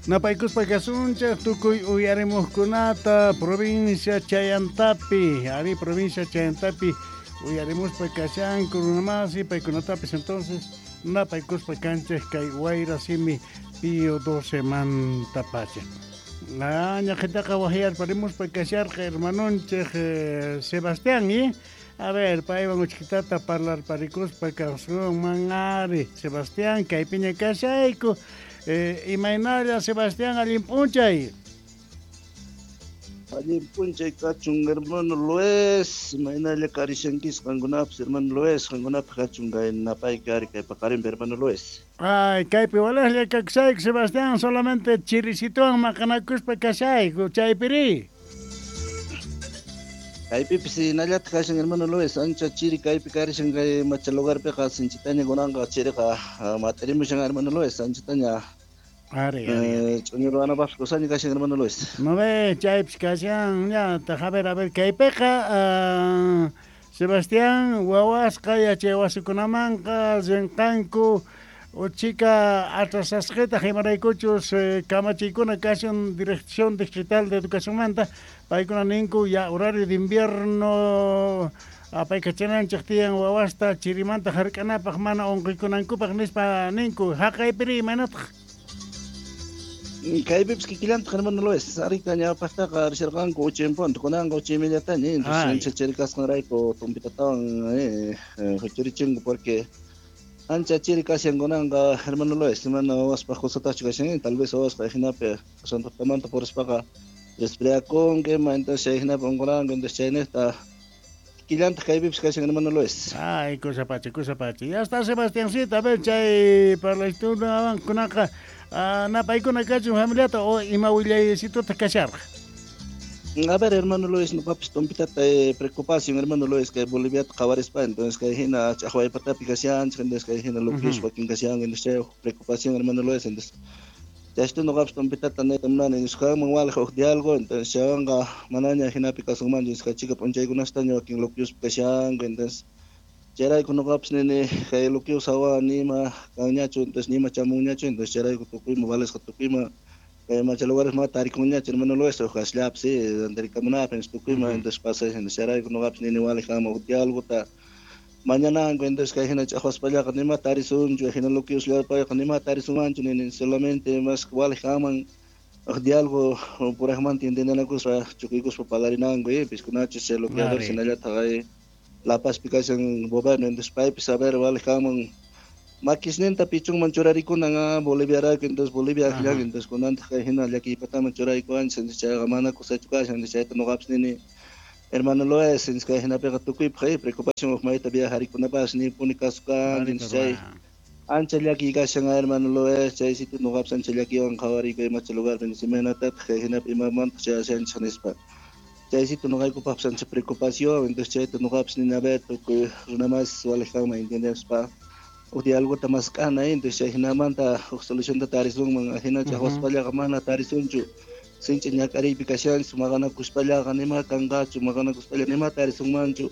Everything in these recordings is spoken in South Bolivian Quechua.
Napaykuspa kasunchik tukuy uyarimuqkunata provincia Chayantapi, ari provincia Chayantapi uyarimuspa kashanku runamasi paykunatapis entonces napaykuspa kanchik kay wayra simi Pío 12 mantapacha. Ñaqhitaqa wajyarparimuspa kasharqa hermanonchik Sebastián, ¿eh? A ver, paywan uchkitata parlarparikuspa kasunman ari. Sebastián, kaypiña kashayku. Imaynalla Sebastián, allin p'unchay. Allin p'unchay kachun hermano Luis, imaynalla karishankis qankunapis hermano Luis, qankunapis kachun kay napayki ari kay paqarinpi hermano Luis. Ay, kaypi walejlla kakshayku Sebastián, solamente chirisituwan maqanakuspa kashayku, chaypiri. Kaypipis hinallataq kashan hermano Luis, ancha chiri kaypi karishan kay macha lugarpiqa sinchitaña kunanqa chiriqa mat'irimushan hermano Luis, anchataña Ari, ari, ari. Ch'uñu ruwanapaqpis kusaña kashan hermano Luis. No ve, chaypis kashan, ñataq, a ver, kaypiqa Sebastián, wawasqa yachay wasikunamanqa rinqanku uchika atrasasqitaq imaraykuchus kamachiykuna kashan Dirección Distrital de Educacionmanta, paykuna ninku ya horario de invierno apaykachananchik tiyan wawasta chirimanta hark'anapaq mana unquykunankupaq nispa ninku, haqaypiri imaynataq? Kaypipis kikillantaq hermano Luis, arika ñawpaqtaqa risharqanku 8 en punto, kunanqa 8 y mediataña, entonces ancha chiri kasqanrayku tumpitatawan huchurichinku porque ancha chiri kashan kunanqa hermano Luis, mana wawaspaq kusatachu kashan, tal vez wawasqa hinapi asuntotamanta purispaqa resfriakunki, ima entonces chay hinapi unquranku, entonces chaynejta kikillantaq kaypipis kashan hermano Luis. Ay, cosa pacha, cosa pacha. Ya está Sebastiancito, a ver, chay parlaytunawan kunaqa napaykuna kachun familiata o ima willaycitota kasharqa. A ver, hermano Luis, noqapis tumpitata preocupación, hermano Luis, kay Boliviata qhawarispa, entonces kay hina ch'aqwaypatapi kashanchik, entonces kay hina luquispa wakin kashan, entonces chay preocupación, hermano Luis, entonces chaystu noqapis tumpitata niyta munani, nisqanman walej uj diálogo, entonces chaywanqa manaña hinapi kasunmanchu, nisqa chika p'unchaykunastaña wakin luquispa kashanku, entonces chayrayku noqapis nini kay luquis hawa nima kanñachu, entonces nima chamunñachu, entonces chayrayku tukuyma valesqa tukuyma kay macha lugares ma tarikunñachu, hermano Luis, uj kasllapis, tarikamunapis, entonces tukuyma, entonces pasay, entonces chayrayku noqapis nini walej kanman uj diálogota mañananku, entonces kay hina ch'aqwaspallaqa nima tarisunchu, hina luquisllapayqa nima tarisunmanchu, nini solamente mas walej kanman uj diálogo purajmanta entendenakuspa chukuykuspa parlarinanku, piskunachus chay luqueadores hinallataq ay La Pazpi kashan gobierno, entonces paypis a ver walej kanman makisninta pichunman churarikunan Boliviarayku, entonces Bolivia akllan, entonces kunantaq kay hina llakiypataman churaykuwanchis, entonces chayqa mana kusachu kashan, entonces chayta noqapis nini hermano Luis, entonces kay hinapiqa tukuypaq preocupación uj mayta viajarikunapaq nipuni kasukan, entonces chay ancha llakiy kashan hermano Luis, chay sitio noqapis ancha llakiywan qhawariyku imacha lugarpi, entonces imaynatataq kay hinapi imamantaq chayashanchis nispa. Chaysito noqaykupaqpis ancha preocupación, entonces chayta noqapis nini a ver tukuy runamas walej kanman entendespa uj diálogota mask'ana, entonces chay hinamanta uj solucionta tarisunman, hina ch'aqwaspallaqa mana tarisunchu, sinchi ñak'ariypi kashanchis, maqanakuspallaqa nima kanqachu, maqanakuspalla nima tarisunmanchu,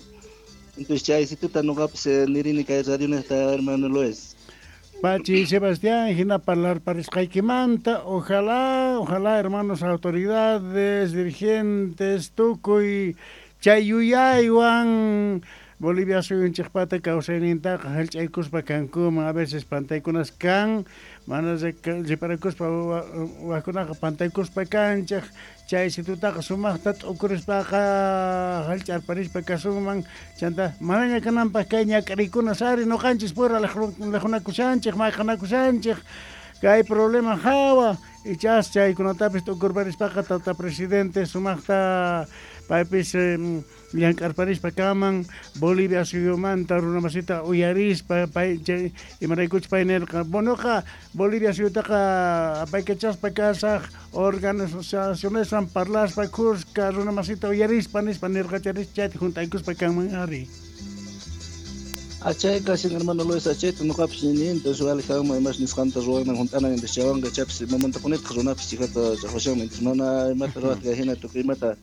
entonces chaysituta noqapis nirini kay radionejta hermano Luis. Pachi Sebastián, hina parlarparisqaykimanta, ojalá, ojalá hermanos autoridades, dirigentes, tukuy chay yuyaywan Bolivia suyunchikpata kawsaynintaqa hallch'aykuspa kankuman, a veces pantaykunas kan, mana riparakuspa wajkunaqa pantaykuspa kanchik, chay situtaqa sumaqta t'ukurispaqa hallch'arparispa kasunman, chanta manaña kananpaq kay ñak'arikuna sari noqanchis pura lijunakushanchik, maqanakushanchik, kay problema hawa, ichas chaykunatapis t'ukurparispaqa tata presidente sumaqta paypis llank'arparispa kaman Bolivia suyumanta runamasita uyarispa pay chay imaraykuchus pay nirqa bonoqa Bolivia suyutaqa apaykachaspa kasaq organizacioneswan parlaspa kuska runamasita uyarispa nispa nirqa charis chayta juntaykuspa kanman ari. Achay kashan hermano Luis, achayta noqapis nini, entonces walej kanman imas nisqanta ruwanan junt'anan, entonces chaywanqa chaypis imamantapunitaq runapis chhikata ch'aqwashanman, entonces mana imata ruwatqa hina tukuy imata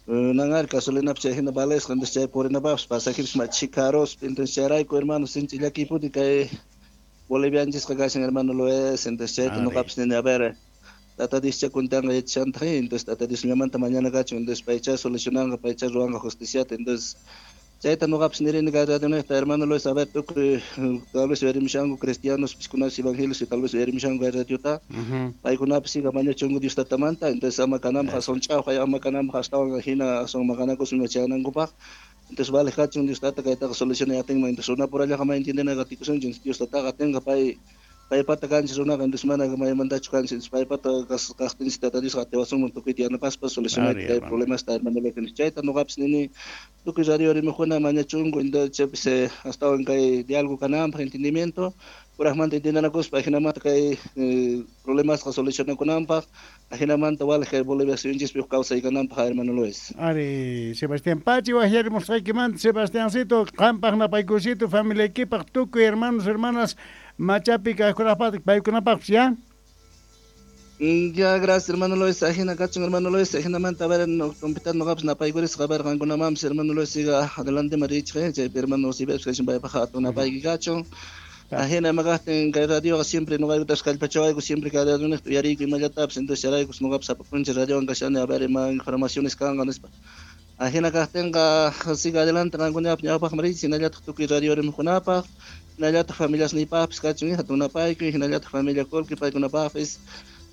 nanari gasolinapis chay hina valesqa, entonces chay purinapaqpis pasajeros ma chhikaruspa, entonces chayrayku hermano sinchi llakiypuni kay Bolivianchisqa kashan hermano Luis, entonces chayta noqapis nini a ver Tata Dios cha cuentanqa yachashantaq, entonces Tata Dios llamanta mañana kachun, entonces paycha solucionanqa, paycha ruwanqa justiciata, entonces chayta noqapis nirini kay radionejta, hermano Luis, a ver, tukuy tal vez uyarimushanku cristianos, piskunas evangelios, tal vez uyarimushanku kay radiota, paykunapis siga mañachunku Dios tatamanta, entonces ama kananpaq aswan ch'awqay, ama kananpaq astawan hina aswan maqanakus ima chayanankupaq, entonces vale kachun Dios tata kaytaqa solucionay atinman, entonces runapurallaqa may entiendena qatikusunchik, Dios tataqa atinqa pay paypata kanchis runaqa, entonces mana maymantachu kanchis, entonces paypata kaqtinchis Tata Diosqa atiwasunman tukuyta yanapaspa solucionayta kay problemasta, hermano Luis, chayta noqapis nini tukuy radio rimaqkuna mañachunku, entonces chaypis astawan kay diálogo kananpaq, entendimiento purajmanta entiendanakuspa, ajinamanta kay problemasqa solucionakunanpaq, ajinamanta walej kay Bolivia suyunchispi huk kawsay kananpaq, hermano Luis. Ari, Sebastián Pachi wajyarimusqaykimanta, Sebastiancito, qampaq napaykusito, familiaykipaq, tukuy hermanos, hermanas, machapi kajkunapaq, paykunapaqpis, ya? Ya, gracias, hermano Luis. Ajina kachun, hermano Luis. Ajinamanta, a ver, no, compitar noqapis napaykurisqa, a ver, qankunamanpis, hermano Luis, siga adelante marichqa, chaypi hermano Sibepis kachun, paypaq hatun napayki kachun. Ajina imaqajtin kay radioqa siempre noqaykutas kallpachawayku, siempre kay radionejta uyariyku imallatapis, entonces charaykus noqapis sapa p'unchay radiowan kashani, a ver, ima informaciones kanqa nispa. Ajina kajtinqa siga adelante qankunapaq ñawpaqman richis, hinallataq tukuy radio rimaqkunapaq, hinallataq familias niypaqpis kachun, hatun napaykuy, hinallataq familia Colqui paykunapaqpis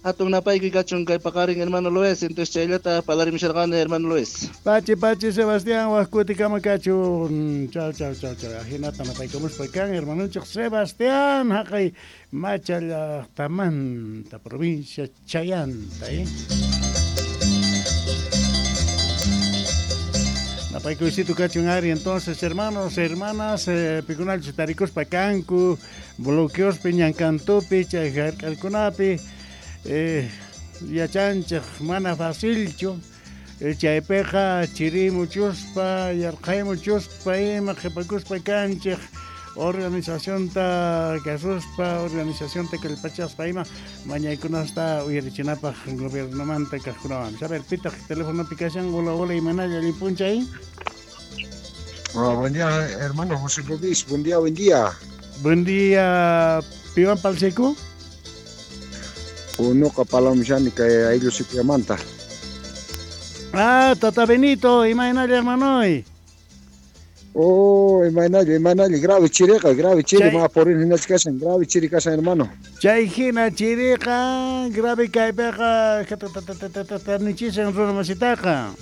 hatun napaykuy kachun kay paqarin, hermano Luis, entonces chayllata parlarimusharqani, hermano Luis. Pachi, pachi, Sebastián, wajkutikama kachun. Chao, chao, chao, chao. Ajinata napaykamuspa kan, hermanonchik Sebastián, haqay Macha llaqtamanta, provincia Chayanta, Napaykuysito kachun ari, entonces, hermanos, hermanas, pikunachus tarikuspa kanku, bloqueospi, ñankantupi, chay jark'alkunapi, yachanchik mana facilchu, chaypiqa chirimuchuspa, yarqaymuchuspa, ima qhipakuspa kanchik, organizacionta kasuspa, organizacionta kallpachaspa ima mañaykunasta uyarichinapaq gobiernomanta kaqkunawan. A ver, pitaq telefonopi kashan, hola, hola, imanalla allin p'unchay. Hola, buen día, hermano José Luis, buen día, buen día. Buen día, piwan palsiku? Unuqa palamushani kay ayllu sitiamanta. Ah, Tata Benito, imaynalla hermanoy. Oh, imaynalla, imaynalla, grave chiriqa, grave chiri, ma porin hinachu kashan, grave chiri kashan, hermano. Chay hina chiriqa, grave kaypiqa, nichishan runa masitaqa.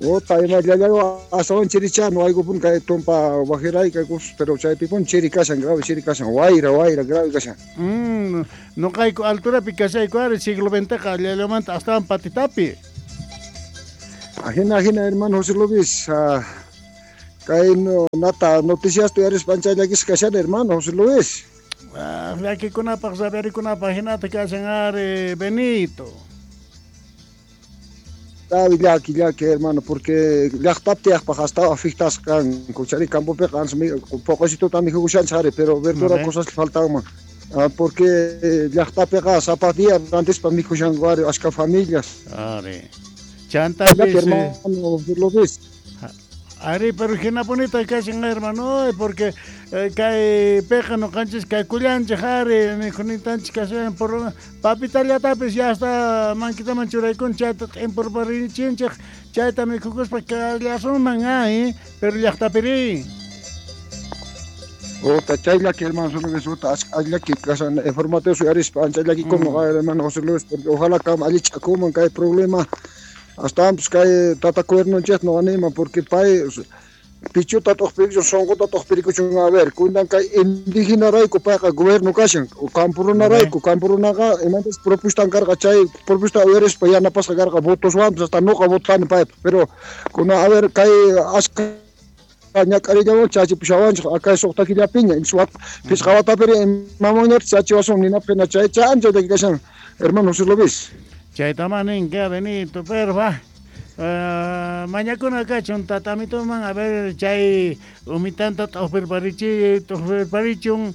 Ota, imallallayo, astawan chiricha, no hay pun kay tumpa wajiray kay kus, pero chaypi pun chiri kashan, grave chiri kashan, wayra, wayra, grave kashan. Noqayku alturapi kashayku ari, siglo XX allallamanta astawan patitapi. Ajina, ajina, hermano José Luis, kay no, nata noticias tu eres panchayllakis kashan, hermano José Luis. Ah, llakikunapaq, rabiarikunapaq hinata kashan ari, Benito. Grave llaki, llaki, hermano, porque llaqtapi tiyaqpaq hasta afectasqa kanku, chari campopiqa ancha poqosituta mikhushanchik ari, pero verdura cosas le faltanman. Ah, porque llaqtapiqa sapa día rantispa mikhushanku ari ashka familias. Ari. Chantapis, Llaki, hermano, lo ves. Ari, pero hinapunita kashan, hermano, porque kay piqa noqanchis kaykullanchik ari, mikhunitanchik kashan, por lo papitallatapis ya hasta mankitaman churaykun, chayta t'imporparichinchik, chayta mikhukuspa kallasunman, ay, pero llaqtapiri. Ota, chay llaki, hermano, solo que ota, llaki kashan, informativo uyarispa, ancha llaki como, hermano José Luis, porque ojalá kam allichakuman kay problema. Hasta antes kay tata cuernonchik no anima, porque pay pichuta t'uqpirikuchun, sunquta t'uqpirikuchun, a ver, kundan kay indígena rayku payqa gobierno kashan, campo runa rayku, campo runaqa imantas propuestan karqa, chay propuesta uyarispa yanapasqa karqa votoswanpas, hasta nuqa votani paypa, pero kuna, a ver, kay ashka ñak'arillawan chachipushawanchik, akay suqta killapiña, inchis wat, pishqa watapiri imamanñataq chachiwasun ninapaq hina chay chay ancha llaki kashan, hermano José Luis. Chaytama ninka, Benito, pero va. Mañakuna kachun tatamituman, a ver, chay umitanta t'uqpirparichi, t'uqpirparichun,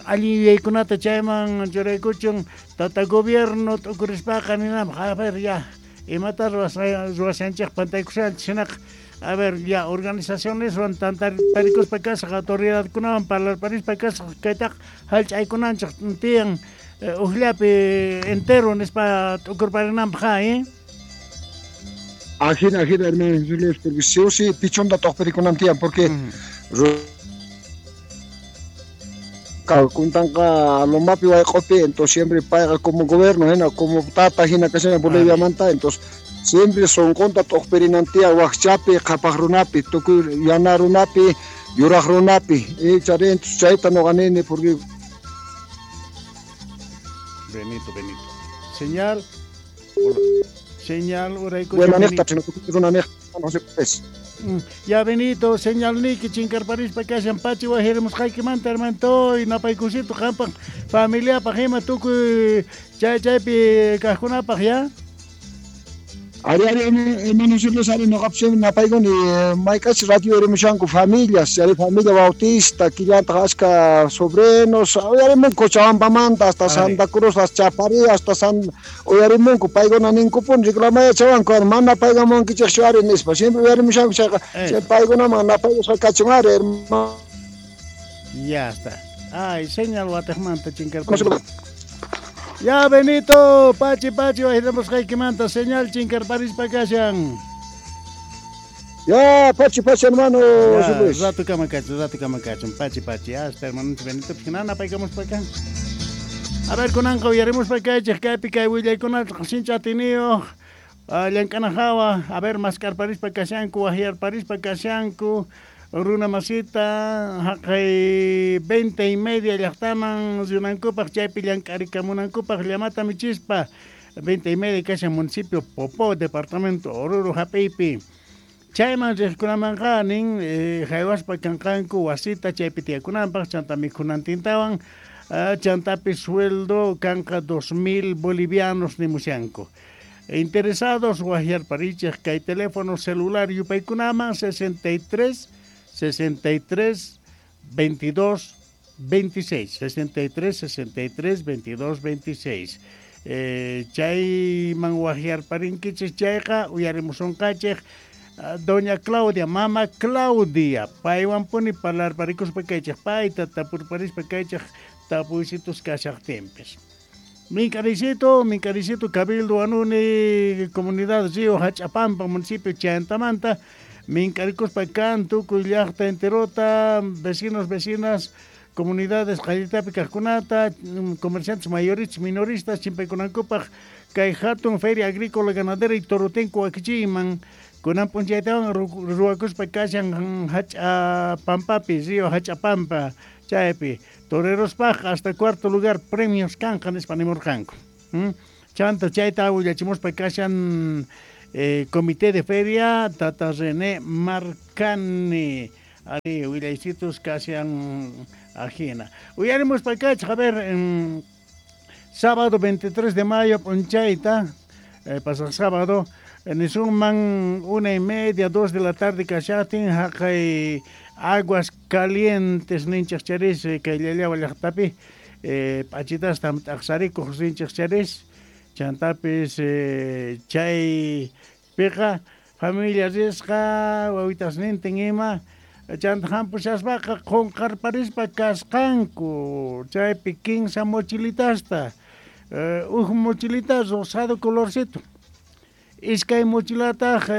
allin yuyaykunata chayman churaykuchun, tata gobierno t'ukurispaqa ninapaq, a ver, ya, imata ruwashanchik pantaykushanchik hinaqa, a ver, ya, organizacioneswan tantarikuspa kasaq, autoridadkunawan parlarparispa kasaq, kaytaqa hallch'aykunanchik tiyan. Ujllapi entero nispa t'ukurparinanpaj, ¿eh? Ajina, ajina, hermano Luis, porque sí o sí pichonta t'uqpirikunan tiyan, porque kuntanqa lomapi wayq'upi, entonces siempre payqa como gobierno hina, como tata hina kashan Boliviamanta, entonces siempre sonqonta t'uqpirinan tiyan wajchapi, qhapaq runapi, tukuy yana runapi, yuraq runapi, chari, entonces chayta noqa nini, porque Benito, Benito. Señal. Señal, Bueno, no. Ya Benito, señal niki chinkarparispa kashan pachi wajirimusqaykimanta hermanito y napaykusito qampaq familiapaq ima tukuy chay chaypi kaqkunapaq ya. Ari, ari, hermano Luis, ari, noqapis napaykuni mayk'ach radio erimushanku familias, ari familia Bautista, quillantaq achka sobrinos, uyarimunku Cochabambamanta hasta Santa Cruz, hasta Chaparí, hasta San, uyarimunku, paykuna ninkupuni reclamayachawanku, ari, mana paykamunkichikchu ari nispa, siempre uyarimushanku chayqa, chay paykunaman napaykusqa kachun ari, hermano. Ya está. Ay, señal watejmanta chinkarpari. Ya Benito, pachi pachi wajiramusqaykimanta señal chinkarparispa kashan. Ya, pachi pachi hermano Ya, Luis. Rato kama kachun, rato kama kachun, pachi pachi, hasta hermano Benito, pues nana paykamuspa kan. A ver, kunanqa uyarimuspa kaychej kaypi kay willaykunata sincha atiniyuq, llank'ana hawa, a ver, maskarparispa kashanku, wajyarparispa kashanku, runa masita, haqay 20:30 llaqtaman rinankupaq, chaypi llank'arikamunankupaq llamata michispa, 20:30 kashan municipio Popó, departamento Oruro hap'iypi. Chayman riqkunamanqa nin, haywaspa kanqanku wasita chaypi tiyakunanpaq, chanta mikhunantintawan, chantapi sueldo kanqa 2000 bolivianos nimushanku. Interesados wajyarparichej kay teléfono celular yupaykunaman 63 63 22 26, 63 63 22 26. Chayman wajyarparinkichej chayqa uyarimusunqachej, doña Claudia, mama Claudia, paywanpuni parlarparikuspa kaychej, payta tapurparispa kaychej tapuysitus kashaqtinpis. Minkaricito, Minkaricito, Cabildo Anuni, Comunidad Río Hachapampa, municipio Chantamanta, minkarikuspa kan tukuy llaqta enterota, vecinos, vecinas, comunidades qallitapi kaqkunata, comerciantes mayoristas, minoristas, chimpaykunankupaq kay hatun feria agrícola ganadera y torotenco wakichiyman, kunan p'unchaytawan ruwakuspa kashan Hach'apampapi, Río Hach'apampa, chaypi, torerospaq hasta cuarto lugar premios kanja nispa nimurqanku. Chanta chayta willachimuspa kashan comité de feria Tata René Marcani. Ari willaysitus kashan ajina. Uyarimuspa kachaj, a ver, sábado 23 de mayo p'unchayta, pasaq sábado, nisunman 1:30, 2 de la tarde kashatin haqay Aguas Calientes ninchej charis, kay llallawa llaqtapi, p'achitasta t'aqsarikuq rinchej charis, chantapis, chay piqa familia risqa wawitasnintin ima, chanta hampushaspaqa qunqarparispa kasqanku, chaypi 15 mochilitasta, uj mochilita rosado colorcito, iskay mochilataq,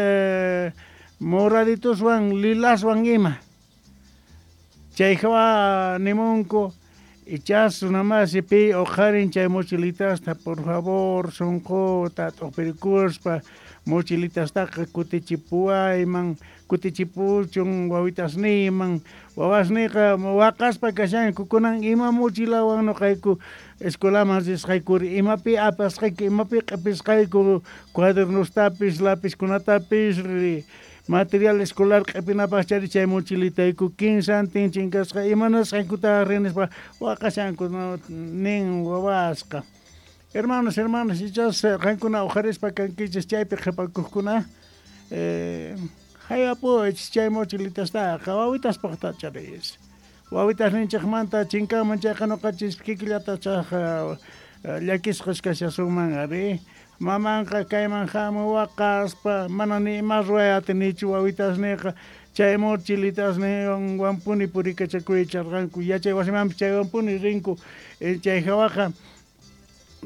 moraditoswan lilaswan ima. Chay hawa nimunku, ichas runamasi pi uqharin chay mochilitasta, por favor, sunquta t'uqpirikuspa mochilitastaqa kutichipuwayman, kutichipuchun wawitasniyman, wawasniyqa waqaspa kashanku, kunan ima mochilawan noqayku escuelaman risqaykuri, imapi apasqayku, imapi q'ipisqayku cuadernostapis, lapizkunatapis, material escolar q'ipinapaq chari chay mochilitayku 15 chinkasqa, imanasqaykuta rinispa waqashanku, no, nin wawasqa. Hermanos, hermanas, ichas qankuna uqharispa kankichis chaypi qhipakuqkuna, hayapuwaychis chay mochilitastaqa, wawitaspaqta charis. Wawitasninchikmanta chinkanman chayqa noqanchis kikillata chaj, llakisqas kashasunman ari. Mamanqa kayman hamu waqaspa, mana ni ima ruway atinichu wawitasniyqa, chay mochilitasninwanpuni purikachakuycharqanku, yachay wasimanpis chaywanpuni rinku, chay hawaqa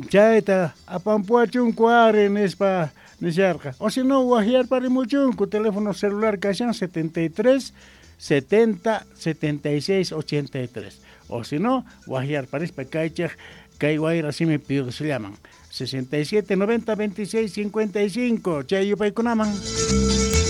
Chayta apampuachunku ari nispa nisharqa. O si no, wajyarparimuchunku teléfono celular kashan 73 70 76 83. O si no, wajyarparispa kaychej kay wayra simi piusllaman 67 90 26 55 chay yupaykunaman.